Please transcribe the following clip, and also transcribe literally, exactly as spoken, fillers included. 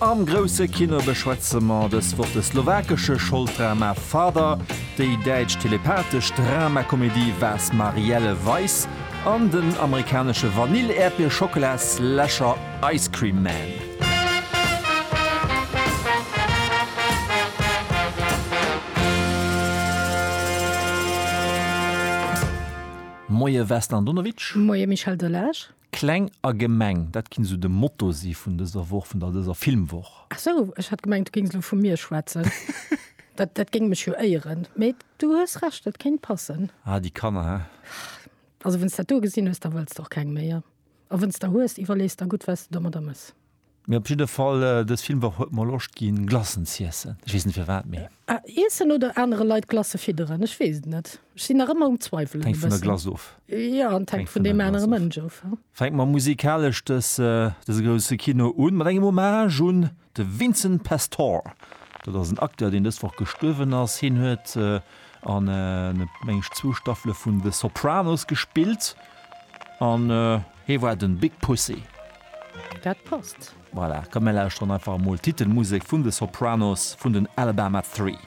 Am grousse Kino beschwätze mer dës Woch de slowakesche Scholddrama Father, déi däitsch telepathesch Dramakomedie Was Marielle weiß an den amerikanesche Vanill-Äerdbier-Schockela-Slasher Ice Cream Man. Moie Vesna Andonovic. Moie Michel Delage. Kleng a gemeng, dat kinnt esou de Motto si vun dëser Woch, vun der dëser Filmwoch. Ach sou, ech hat gemengt, du géings elo vu mir schwätzen. Dat, dat géing mech jo éieren. Mee du hues Recht, dat kéint passen. Ah, déi Kanner, hä? Also, wann s dat do gesinn hues, da wëlls de och keng méi. A wann s der hues, iwwerlees der gutt, wat s de domadder mëss. Mee op jidde Fall, dës Filmwoch huet mer Loscht ginn, Glacen z'iessen. Ech weess net firwat, mee. Ah, iessen oder anere Leit Glacë fidderen? Ech weess et net. Ech sinn nach ëmmer um Zweiwelen e Hänkt vun der bëssen. Glace of. Jo, an et hänkt Hänkt vun vun der deem Glace anere of. Mënsch of. Fänke mer musikalesch dës, dëse grousse Kino un mat engem Hommage un de Vincent Pastore. Dat ass en Acteur, deen dës Woch gestuerwen ass. Hien huet an, meng ech, zwou Staffele vun The Sopranos gespillt an hie war den Big Pussy. Dat passt. Voilà, komm mir lauschteren einfach emol d'Titelmusek vun The Sopranos vun den Alabama Three.